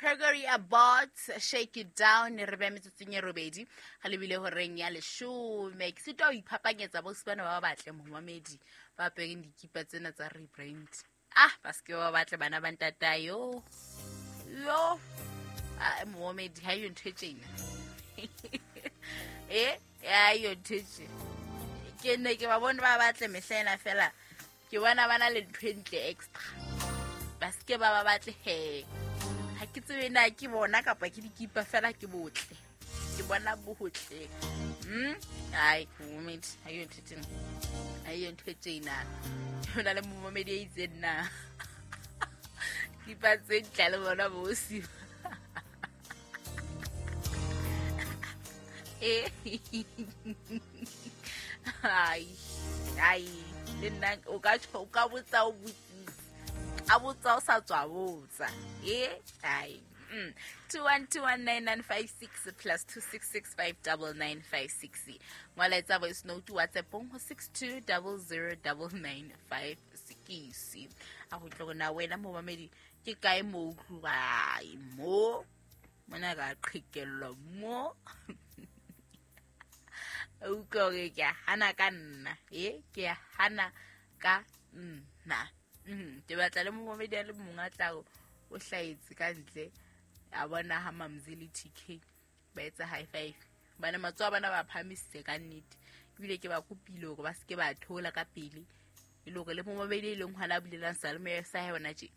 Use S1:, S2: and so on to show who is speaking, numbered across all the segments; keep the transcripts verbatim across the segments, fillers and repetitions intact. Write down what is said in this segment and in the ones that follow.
S1: Gregory Abbott, Shake It Down. Re beha metsotsong e robedi ga lebile horeng ya leshome. Ke sitwa ho iphapanyetsa bo bana ba batle momamedi ba apereng dikipa tsena tsa rebrand. Ah, ba se ke ba batle bana ba ntata yo. Yo. Ah, momamedi ha yo ntho e tjena. Eh, ya yo ntho e tjena. Ke ne ke ba bone ba batle mehla ena fela. Ke bona ba na le ntho e ntle extra. Ba se ke ba ba batle he. Ha ke tsebe na ke bona kapa ke dikipa fela ke botle. Ke bona botle. Hmm? Ai, momamedi, ha yo ntho e tjena. Ha yo ntho e tjena. Ho na le momamedi e itseng na. Kipa tse ntle le bona bo siba. Eh. Ai, ai, le nna o ka tjho, o ka botsa o botsise. A botsa o sa tswa botsa. Eh, ai. Mm. two one two one nine nine five six plus two six six five double nine five six. Ngola etsa voice note WhatsApp ho six two double zero double nine five six. A go tlo na wena momamedi ke kae mo utlwai mo mona ka qhekellwa mo. O utlwa hore ke a hana ka nna. Eh, ke a hana ka nna. Mm, ke batla le momamedi a le mong a tla o hlahetse ka ntle. A bona ha Mamzi le T K ba etsa high five. Bana matsoho a bona ba phahamisitse ka nnete. Ebile ke ba kopile hore ba se ke ba thola ka pele. E le hore le momamedi e leng hona a bulelang seyalemoya sa hae hona tje,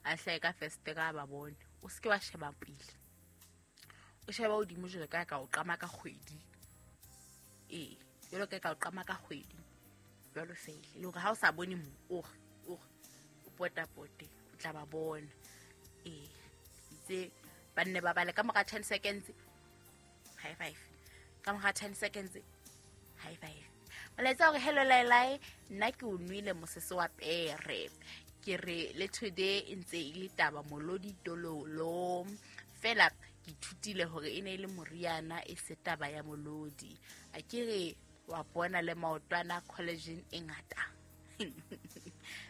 S1: a hlahe ka festere a ba bone. O se ke wa sheba pele. O sheba hodimo jwalo ka ka o qama ka kgwedi. Ee, jwalo ka ka o qama ka kgwedi. Jwalo fela. E le hore ha o sa bone mo, o re, o re, o potapote, o tla ba bona. Ee, itse ba nne ba bale ka mora ten seconds. High five. Ka mora ten seconds. High five. Molaetsa hore hello Lailai, nna ke o nwele mosese wa pere. Ke re le today e ntse e le taba molodi tololo. Fela ke ithutile hore e ne e le moriana e se taba ya molodi. A ke re wa bona le maotwana collagen e ngata.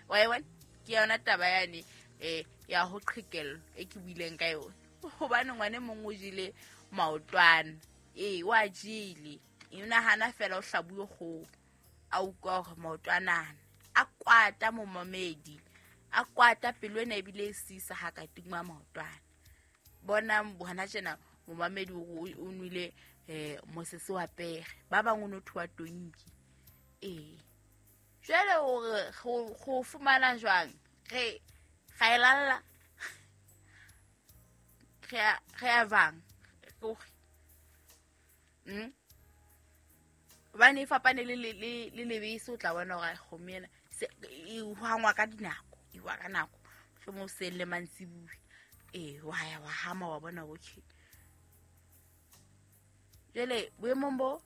S1: Wa e bona? Ke yona taba yane eh ya ho qhekellwa e ke buileng ka yona. Hobane ngwane mong o jele maotwana. Eh, wa jele. E nahana fela o hlabuwe kgoho. A utlwa hore maotwana a kwata momamedi. A kwata pelo ena ebile e sisa ha ka tingwa maotwana. Bona hona tjena momamedi o, o nwele eh mosese wa pere. Ba bang o no thuwa tonki. Eh. Jwale hore go, go fumana jwang? Re ga e lalla. Re a, re a bang. Mm. Hobane e fapane le, le, le, le lebese, o tla bona hore kgomo ena se e hwangwa ka dinako, e hwa ka nako. Mohlomong hoseng le mantsibuya. Eh, wa ya wa hama wa bona okay. Jwale boemong bo